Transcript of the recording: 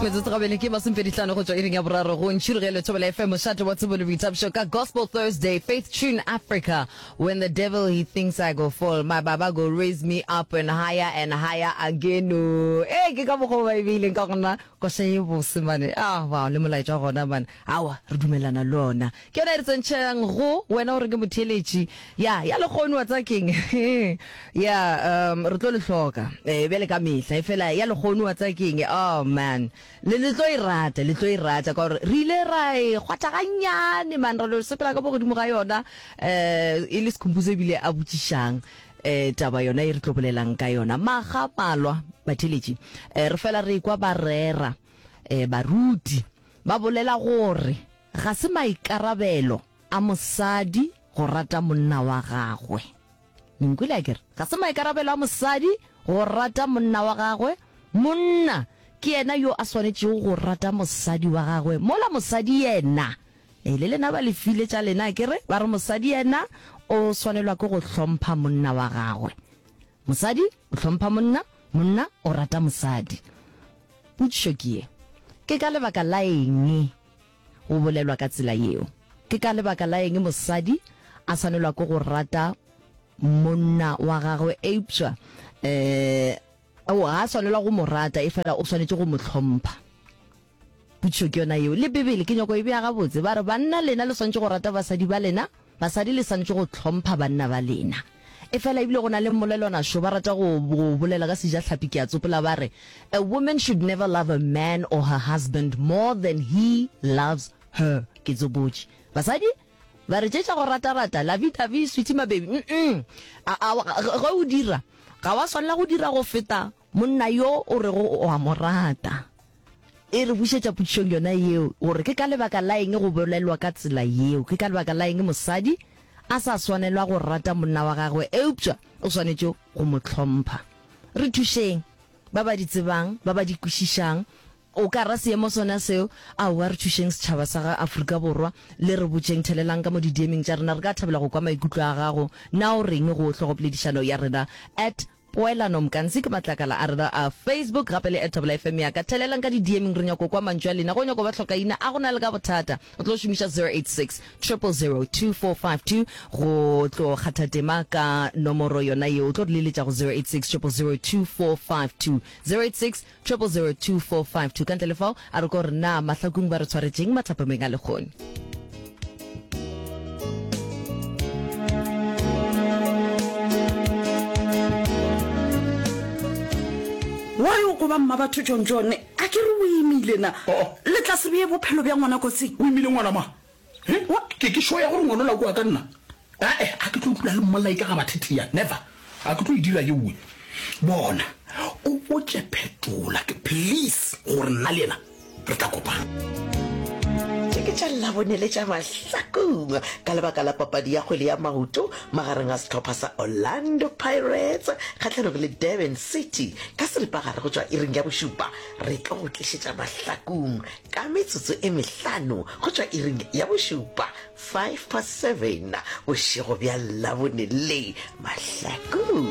Metsotso gabele ke masomepedihlano go tšwa iring ya boraro go ntšhirogelo Thobela FM mošate wa tsebo le boithabišo ka Gospel Thursday Faith Tune Africa When the devil he thinks I go fall my baba go raise me up and higher and higher again oh ee ke ka mokgwa o ba e beileng ka gona koša ye bose mane ah wow le molaetša wa gona mane awa re dumelana le ona Ke yona e re tsentšhang go wena gore ke motheeletši. Ya, ya lekgono wa tseba keng? Ya, um, re tlo le hloka. Eh, bjale ka mehla. Efela ya lekgono wa tseba keng? Oh, man. Le, le tlo e rata, le tlo e rata. Ka gore re ile ra e kgwatha gannyane, man, ra no sepela ka mo godimo ga yona. Eh, e le Skhumbuzo ebile a botšišang, eh, taba yona e re tlo bolelang ka yona. Makga a malwa, batheeletši, eh, re fela re ekwa ba rera, eh, baruti ba bolela gore, Ga se maikarabelo a mosadi go rata monna wa gagwe. Le nkwele akere? Ga se maikarabelo a mosadi go rata monna wa gagwe. Monna ke yena yo a swanetšego go rata mosadi wa gagwe, mola mosadi yena, ee, le lena ba le file tša lena akere, ba re mosadi yena o swanelwa ke go hlompha monna wa gagwe. Mosadi o hlompha monna, monna o rata mosadi. Potšišo ke ye, Ke ka lebaka la eng go bolelwa ka tsela yeo? Ke ka lebaka la eng mosadi a swanelwa ke go rata monna wa gagwe eupša um ga a swanelwa go mo rata efela o swanetše go mo hlompha? Potšišo ke yona yeo. Le Bibele ke nyako e bea gabotse. Ba re banna lena le swanetše go rata basadi ba lena, basadi le swanetše go hlompha banna ba lena. Efela ebile go na le mmolelwana šo ba rata go go bolela ka sejahlapi ke a tsopola ba re, A woman should never love a man or her husband more than he loves her. Ke tsopotše. Basadi ba re tše tša go ratarata, lovey-dovey, sweetie my baby, mm-mm. A, a, ge o dira, ga wa swanela go dira go feta monna yo o rego o a mo rata. E re bušetša potšišong yona yeo, gore ke ka lebaka la eng go bolelwa ka tsela yeo. Ke ka lebaka la eng mosadi a sa swanelwa go rata monna wa gagwe eupša o swanetše go mo hlompha. Re thušeng, ba ba di tsebang, ba ba di kwešišang. O ka ra seemo sona seo? Aowa, re thušeng setšhaba sa ga Afrika Borwa, le re botšeng, thelelang ka mo di-DM-ing tša rena, re ka thabela go kwa maikutlo a gago. Na o reng go hlogopoledišano ya rena? At Poelano Mkansi ke matlakala a rena a Facebook gape le at Thobela FM ya ka. Thelelang ka di DM-ing re nyako kwa mantšu a lena. Go nyako ba hlokaina a go na le ka bothata. O tlo šomiša 086 000 2452 go tlo kgatha tema ka nomoro yona yeo. O tlo re leletša go 086 000 2452. 086 000 2452. Ka ntle le fao a re ko re na mahlakung ba re tshwaretšeng mathapameng a lekgone. Why o koba mma batho John John? A ke re o imile na? Oh. Le tla se bee bophelo bja ngwana kotsing? O imile ngwana ma? He? Ke ke sure ya gore ngwana ola ke wa ka nna? Ae, a ke tlo dula le mmolai ka ga bathetheya, never. A ke tlo e dira yeowe. Bona, o botše Phetola ke please gore nna le yena re tla kopana. Tše ke tša Labone le tša Mahlakong ka lebaka la papadi ya kgwele ya maoto magareng a sehlopha sa Orlando Pirates kgahlanong le Durban City ka seripagare go tšwa iring ya bošupa. Re tlo go tlišetša Mahlakong ka metsotso e mehlano go tšwa iring ya bošupa, 7:05, bošego bja Labone le Mahlakong.